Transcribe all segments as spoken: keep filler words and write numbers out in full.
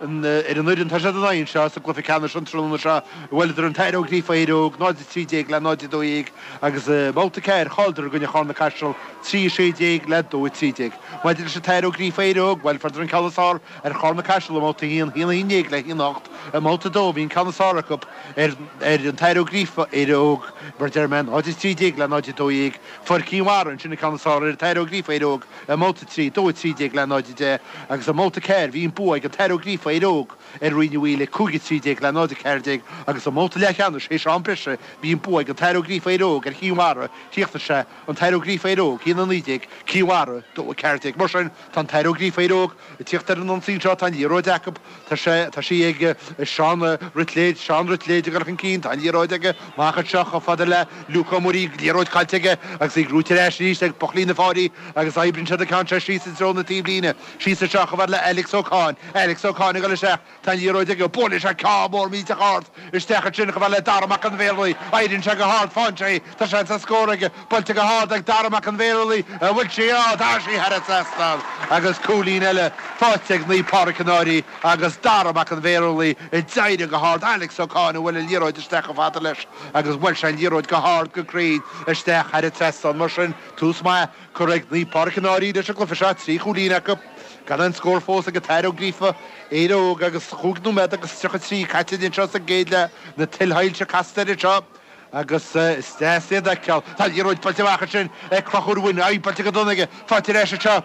Ar an fhoireann tá siad in aghaidh anseo sa gcluiche ceannais an tráthnóna seo, bhuaileadar an tAthair Ó Gríofa Éire Óg, náid a trí déag le náid a dó dhéag agus i mbabhta ceathair chailleadar i gcoinne Charna Caiseal, trí a sé déag le dó a trí déag. Maidir leis an tAthair Ó Gríofa Éire Óg, bhuel, fuaireadar an ceann is fearr ar Charna Caiseal i mbabhta a haon, haon a haon déag le haon a hocht. I mbabhta a dó bhí an ceann is fearr acu ar an tAthair Ó Gríofa Éire Óg, mar a deir mé, náid a trí déag le náid a dó dhéag. Fuair Cinn Mhara ansin an ceann is fearr ar an tAthair Ó Gríofa Éire Óg i mbabhta a trí, dó a trí déag le náid a deich agus i mbabhta a ceathair bhí an bua ag an tAthair Ó Gríofa Éire Óg ar Rinn Uí Mhaoile, cúig a trí déag le náid a ceathair déag agus i mbabhta leathcheannais théis am breise bhí an bua ag an tAthair Ó Gríofa Éire Óg ar Chinn Mhara, chríochnaigh sé, an tAthair Ó Gríofa Éire Óg, haon a naoi déag, Cinn Mhara, dó a ceathair déag. Mar sin, tá an tAthair Ó Gríofa Éire Óg ag tíocht ar an ionsaí anseo, tá an liathróid acu, tá sé, tá sí ag Seán Ruitléid, Seán Ruitléid ag dul chun cinn, tá an liathróid aige amach anseo chomh fada le Luke Ó Muirí, liathróid caillte aige agus í gnóite ar ais arís ag Buclaí na Fáirí agus oibríonn siad an ceann seo síos i dtreo na taobhlíne, síos anseo chomh fada le Alex Ó Cadhain, Alex Ó Cadhain ag dul isteach, tá an liathróid aige, buaileann sé ceann mór millteach ard isteach ansin chomh fada le Dara Mac an Bhéarlaí, éiríonn sé go hard, faigheann sé í, tá seans ar scór aige, buailte go hard ag Dara Mac an Bhéarlaí, an bhfuil sí, á, tá sí thar an trasnán agus cúilín eile faighte ag Naomh Pádraig an Fhairche agus Dara Mac an Bhéarlaí ag éirí go hard, Alex Ó Cadhain a bhuail an liathróid isteach chomh fada leis agus bhuail sé an liathróid go hard go cruinn isteach thar an trasnán. Mar sin, tús maith curtha ag Naomh Pádraig an Fhairche leis an gcluiche seo, trí chúilín acu, gan aon scór fós ag an tAthair Ó Gríofa, Éire Óg agus chúig nóiméad agus tríocha trí caite anseo sa gcéad leath, na tuilshoilse casta air anseo agus is deas iad a fheiceáil. Tá an liathróid buailte amach ansin ag Conchúr Ó Wynne, aghaidh buailte go dona aige, faighte ar ais anseo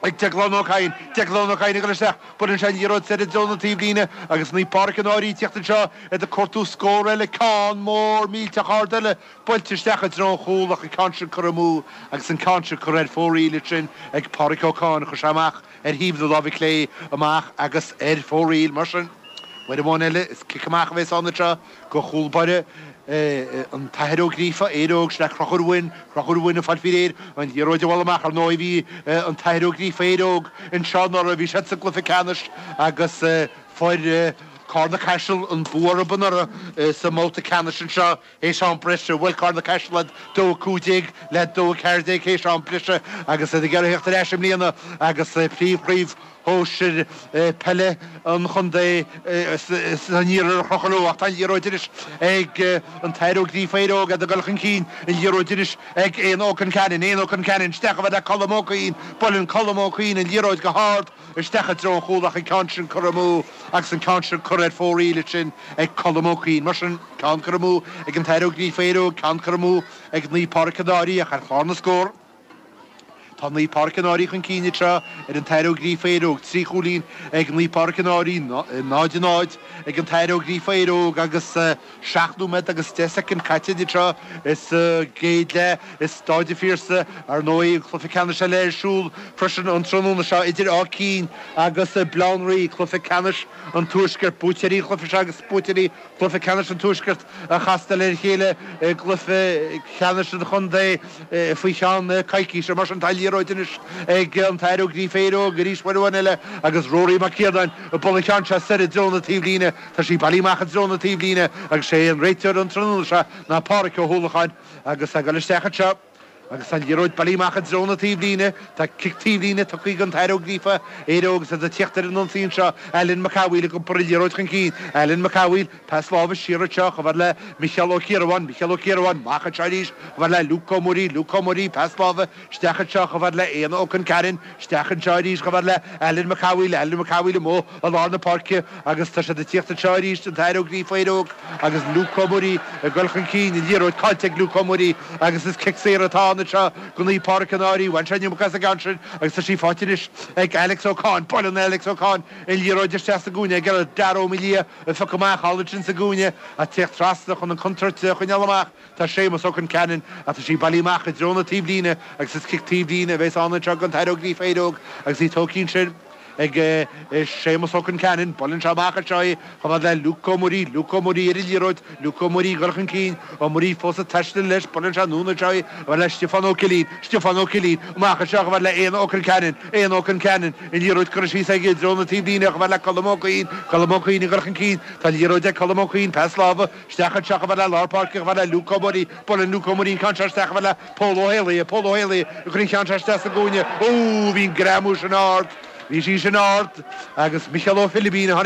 ag Deaglán Ó Cadhain, Deaglán Ó Cadhain ag dul isteach, buaileann sé an liathróid soir i dtreo na taobhlíne agus Naomh Pádraig an Fhairche ag tíocht anseo iad ag cuartú scór eile, ceann mór millteach ard eile buailte isteach i dtreo an chúil ach an ceann sin curtha amú agus an ceann sin curtha ar fóraoil ansin ag Pádraig Ó Cadhain, chuir sé amach ar thaobh na láimhe clé amach agus ar fóraoil. Mar sin, uair amháin eile, is cic amach a bheas ann anseo go chúl báire an tAthair Ó Gríofa, Éire Óg, sin é Conchúr Ó Wynne, Conchúr Ó Wynne ag fáil faoi réir an liathróid a bhualadh amach. Ar ndóigh, bhí an tAthair Ó Gríofa, Éire Óg anseo anuraidh, bhí siad sa gcluiche ceannais agus fuair Carna Caiseal an bua orthu anuraidh sa mbabhta ceannais anseo. Théis am breise, bhuail Carna Caiseal iad dó a cúig déag le dó a ceathair déag théis am breise agus iad ag iarraidh theacht ar ais i mbliana agus príomhchraobh shóisir peile an chontae san iarthar a chrochadh leo. Ach tá an liathróid anois ag an tAthair Ó Gríofa Éire Óg, iad ag dul chun cinn, an liathróid anois ag Éanna Ó Concheanainn, Éanna Ó Concheanainn isteach chomh fada le Colm Ó Cuinn, buaileann Colm Ó Cuinn an liathróid go hard isteach i dtreo an chúil ach an ceann sin curtha amú agus an ceann sin curtha ar fóraoil ansin ag Colm Ó Cuinn. Mar sin, ceann curtha amú ag an tAthair Ó Gríofa Éire Óg, ceann curtha amú ag Naomh Pádraig an Fhairche ach ar chlár na scór, tá Naomh Pádraig an Fhairche chun cinn anseo ar an tAthair Ó Gríofa Éire Óg, trí chúilín ag Naomh Pádraig an Fhairche, náid a náid ag an tAthair Ó Gríofa Éire Óg agus seacht nóiméad agus deich soicind caite anseo sa gcéad leath i Stáid an Phiarsaigh. Ar ndóigh, an cluiche ceannais eile ar siúl freisin an tráthnóna seo idir Áth Cinn agus Baile Átha an Rí, cluiche ceannais an Tuaiscirt, buaiteoirí an chluiche seo agus buaiteoirí chluiche ceannais an Tuaiscirt a chastáil ar a chéile i gcluiche ceannais an chontae faoi cheann coicíse. Mar sin, tá an liathróid anois ag an tAthair Ó Gríofa Éire Óg arís uair amháin eile agus Rory Mac Ciarnáin ag bualadh an cheann seo soir i dtreo na taobhlíne. Tá sí bailithe amach i dtreo na taobhlíne agus sé an réiteoir an tráthnóna seo ná Pádhraic Ó hUallacháin agus ag dul isteach anseo. Agus an liathróid bailithe amach i dtreo na taobhlíne. Tá cic taobhlíne tugtha don tAthair Ó Gríofa, Éire Óg agus iad ag tíocht ar an ionsaí anseo. Alan Mac Cathmhaoil ag iompar an liathróid chun cinn. Alan Mac Cathmhaoil, pas láimhe siar anseo chomh fada le Micheál Ó Ciarabháin. Micheál Ó Ciarabháin, amach anseo arís chomh fada le Luke Ó Muirí. Luke Ó Muirí, pas láimhe isteach anseo chomh fada le Éanna Ó Concheanainn. Isteach anseo arís chomh fada le Alan Mac Cathmhaoil. Alan Mac Cathmhaoil amuigh i lár na páirce agus tá siad ag tíocht anseo arís, an tAthair Ó Gríofa, Éire Óg agus Luke Ó Muirí ag dul chun cinn. An liathróid caillte ag Luke Ó Muirí agus is cic saor atá ann anseo go Naomh Pádraig an Fhairche. Bhain sé an iomarca as an gceann sin agus tá sí faighte anois ag Alex Ó Cadhain. Buaileann Alex Ó Cadhain an liathróid isteach sa gcúinne ag iarraidh Dara Ó Maoildhia a phiocadh amach thall ansin sa gcúinne ach tíocht trasna chun an chontúirt a choinneáil amach tá Séamus Ó Concheanainn ach tá sí bailithe amach i dtreo na taobhlíne agus is cic taobhlíne a bheas ann anseo don tAthair Ó Gríofa Éire Óg agus í tógtha ansin ag Séamus Ó Concheanainn. Buaileann sé amach anseo í chomh fada le Luke Ó Muirí. Luke Ó Muirí ar an liathróid. Luke Ó Muirí ag dul chun cinn. Ó Muirí fós ag taisteal leis. Buaileann sé anonn anseo í chomh fada le Stiofán Ó Cillín. Stiofán Ó Cillín amach anseo chomh fada le Éanna Ó Concheanainn. Éanna Ó Concheanainn. An liathróid curtha síos aige i dtreo na taobhlíne chomh fada le Colm Ó Cuinn. Colm Ó Cuinn ag dul chun cinn. Tá an liathróid ag Colm Ó Cuinn. Pas láimhe isteach anseo chomh fada le lár páirce chomh fada le Luke Ó Muirí. Buaileann Luke Ó Muirí an ceann seo isteach chomh fada le Pól Ó Héalaí. Pól Ó Héalaí ag cur an cheann seo isteach sa gcúinne. Ó, bhí an greamú sin ard. Bhí sí sin ard agus Micheál Ó Philibín.